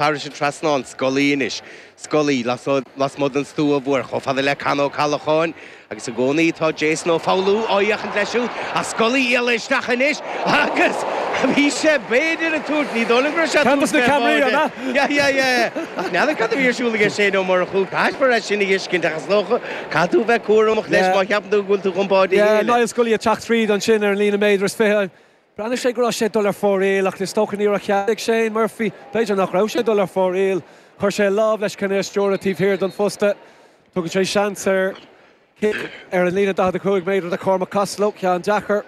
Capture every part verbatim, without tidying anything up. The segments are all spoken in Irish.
Thairis an trasnán, Scully anois, Scully lasmuigh den stua mhór, chomh fada le Con Ó Callacháin agus i gcónaí tá Jason Ó Foghlú á fhéachaint leis siúd ach Scully iallach isteach anois agus bhí sé b'fhéidir ag tabhairt, ní dóigh liom go raibh sé ag tabhairt fé bháide. Yeah, yeah, yeah. Ach n'fheadar cad a bhí ar siúl aige Shane Ó Murchú, caithfear é sin a thuiscint ach is dócha, caithfidh tú bheith cúramach leis má cheapann tú go bhfuil tú chun báide a Yeah, Niall Scully ag teacht tríd ansin ar an líne méadar is fiche. Bhreathnaigh sé go raibh sé ag dul ar fóraoil ach is dócha ní raibh cead ag Shane Murphy. B'fhéidir nach raibh sé ag dul ar fóraoil. Chuir sé a lámh leis chun é a stiúradh taobh thiar den phosta. Tugann sé seans ar chic ar an líne daichead a cúig méadar do Cormac Costello, ceann deacair.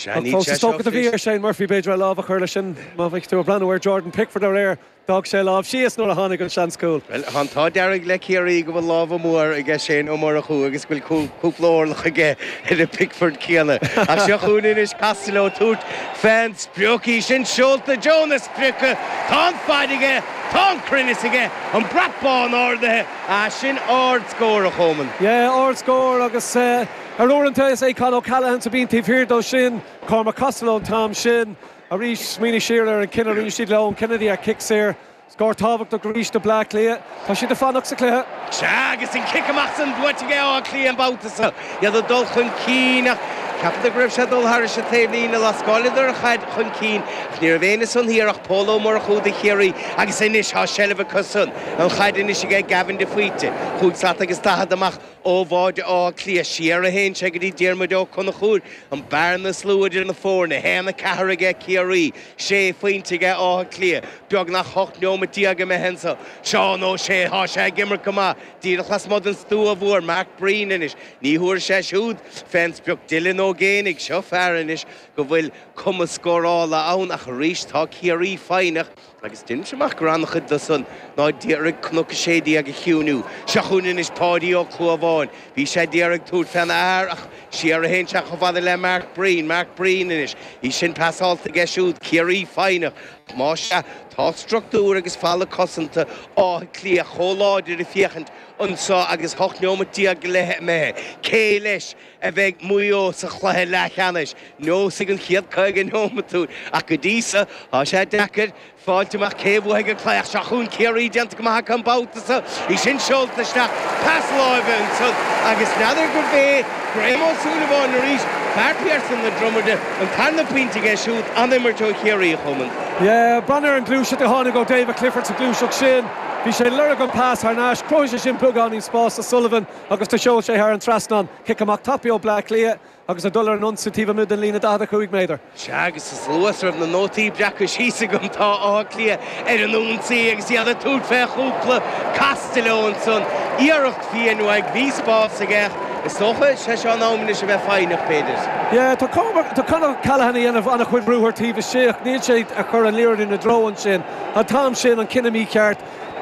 Ach fós is dócha do bhí ar Shane Murphy b'fhéidir a lámh a chur leis sin. Má bheidh tú ag breathnú ar Jordan Pickford aréir, D'fhág sé a lámh síos nuair a tháinig an seans cúil. Bhuel, tá an t-ádh dearg le Ciarraí go bhfuil lámha mór aige Shane Ó Murchú agus go bhfuil cúpla orlach aige ar an Pickford céanna. Ach seo chugainn anois Costello ag tabhairt fén sprioc, í sin seolta i dtreo na sprioce. Tá an fad aige, tá an cruinneas aige, an brat bán ardaithe. Ah, sin ard-scór, a Choman. Yeah, ard-scór agus ar uaireanta is é Con O'Callaghan a bhíonn taobh thiar dó sin, Cormac Costello an t-am sin. Arís, smaoinigh siar ar an cinneadh a rinne siad le Eoin Kennedy ar chic saor. Scór tábhachtach arís do Bleá Cliath. Tá siad ag fanacht sa chluiche. Sea, agus an cic amach san buaite aige Áth Cliath an babhta seo. Iad ag dul chun cinn ach ceapadar go raibh sé ag dul thairis an taobhlíne. Lascáileadar an chaid chun cinn ach ní raibh éinne san thiar ach Pól Ó Murchú do Chiarraí agus anois tá seilbh acu san. An chaid anois aige Gavin de Faoite. Chúig slat agus daichead amach ó bháide Átha Cliath, siar a théann sé go dtí Diarmuid Ó Conchúir, an bearna is lú idir na foirne, a haon a ceathair aige Ciarraí, sé phointe aige Áth Cliath, beagnach ocht neomat déag imithe anso. Seán Ó Sé, tá sé ag imirt go maith, díreach lasmuigh den stua mhór, Mark Breen anois, ní thabharfaidh sé siúd fén sprioc, Dylan Ó Géibheannaigh, seo fear anois go bhfuil cumas scórála ann ach arís tá Ciarraí foighneach. Agus deinimse amach gur an-chuid de san ná d'iarraidh Cnoc a Sé Déag a chiúiniú. Seo chugainn anois Páidí Ó Clúmháin. Bhí sé d'iarraidh tabhairt féna fhear ach siar a théann sé chomh fada le Mark Breen. Mark Breen anois. Í sin pasáilte aige siúd. Ciarraí foighneach. Ach más ea, tá struchtúr agus falla cosanta Átha Cliath chomh láidir ag féachaint anso agus ocht neomat déag go leith imithe. Cé leis a bheidh Maigh Eo sa chluiche leathcheannais? Neosfaidh an chéad caoga neomat dúinn. Ach go dtí so, tá sé deacair. Fáilt amach cé a bhuafaidh an cluiche ach seo chugainn Ciarraí déanta go maith acu an babhta seo. Í sin seolta isteach, pas láimhe ansan agus n'fheadar gurbh é Graham Ó Súilleabháin arís, fear pearsanta na Dromada, an tarna pointe aige siúd, an-imirt ó Chiarraí, a Choman. Yeah, breathnaigh ar an gluaiseacht a tháinig ó David Clifford sa ghluaiseacht sin. Bhí sé ag lorg an pas thar n-ais, chruthaigh sé sin beagáinín spáis do Sullivan agus do sheol sé thar an trasnán. Cic amach tapaidh ó Bleá Cliath. Agus ag dul ar an ionsaí taobh amuigh den líne daichead a cúig méadar. Sea, agus is luath is a raibh na nótaí breactha síos agam, tá Áth Cliath ar an ionsaí agus iad ag tabhairt fé chúpla Costello ansan. Iarracht fiáin uaidh, bhí spás aige ach is dócha, sé seo an am anois a bheith foighneach, b'fhéidir. Yeah, tá Cormac, tá Conor O'Callaghan ag déanamh an-chuid ruathar taobh istigh. Níl sé ag cur an liathróid ina dtreo ansin. An t-am sin, an cinneadh mícheart.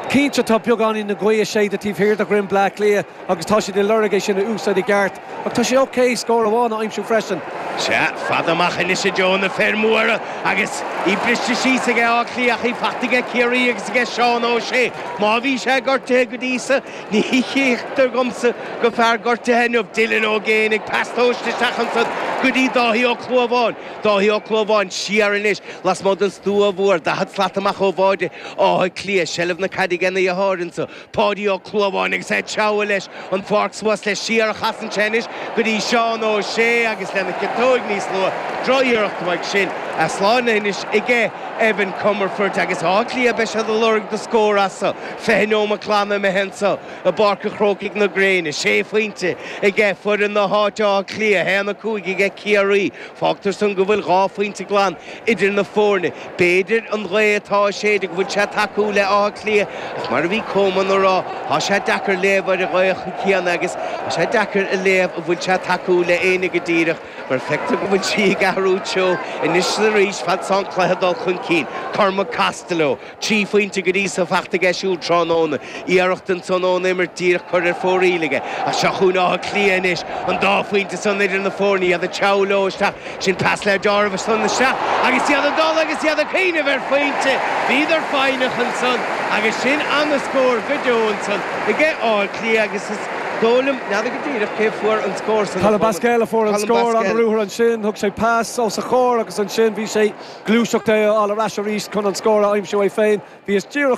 Cinnte, tá beagáinín na gaoithe ag séideadh taobh thiar de dhroim Bleá Cliath agus tá siad ag lorg é sin a úsáid i gceart. Ach tá sé ok scór amháin a aimsiú freisin. Sea, fada amach anois i dtreo na fir mhóra agus í briste síos aige Áth Cliath ach í fachta aige Ciarraí agus aige Seán Ó Sé. Má bhí sé gortaithe go dtí so, ní chítear dhomsa gur fear gortaithe inniu. Dylan Ó Géibheannaigh, pas tomhaiste isteach ansan go dtí Dáithí Ó Clúmháin. Dáithí Ó Clúmháin siar anois lasmuigh den stua mhór, daichead slat amach ó bháide Átha Cliath. Seilbh na caide aige ina dheartháir anso, Páidí Ó Clúmháin, agus é ag treabhadh leis an pháirc suas leis. Siar a chasann sé anois go dtí Seán Ó Sé agus lena chiotóig níos luaithe. Drochiarracht uaidh sin. Slánaithe anois aige Evan Comerford agus Áth Cliath, beidh siad ag lorg do scór as so. Fiche neomat glan imithe anso i bPáirc an Chrócaigh na gréine. Sé phointe aige foireann na háite Áth Cliath, a haon a cúig aige Ciarraí. Fágtar san go bhfuil dhá phointe glan idir na foirne. B'fhéidir an ghaoth atá ag séideadh go bhfuil sé ag tacú le Áth Cliath ach mar a bhí Coman a rá, tá sé deacair léamh ar an ghaoth chéanna agus tá sé deacair a léamh an bhfuil sé ag tacú le éinne go díreach mar feictear go bhfuil sí ag athrú treo anois is arís fad is atá an cluiche ag dul chun cinn. Cormac Costello. Trí phointe go dtí so fachta aige siúd tráthnóna. Iarracht ansan ón imirt díreach curtha ar fóraoil aige. Ach seo chugainn Áth Cliath anois. An dá phointe san idir na foirne, iad ag treabhadh leo isteach. Sin pas le Jarvis ansan isteach agus iad ag dul agus iad ag cuimhneamh ar phointe. Bhíodar foighneach ansan agus sin ana-scór go deo ansan aige Áth Cliath agus is Dólim neada go díreach cé fuair an scór san Colm Basquel a fuair an scór an ruathar ansin, thug sé pas os a chomhair agus ansin bhí sé gluaiseacht é á leis arís chun an scór a aimsiú é féin, bhí is díreach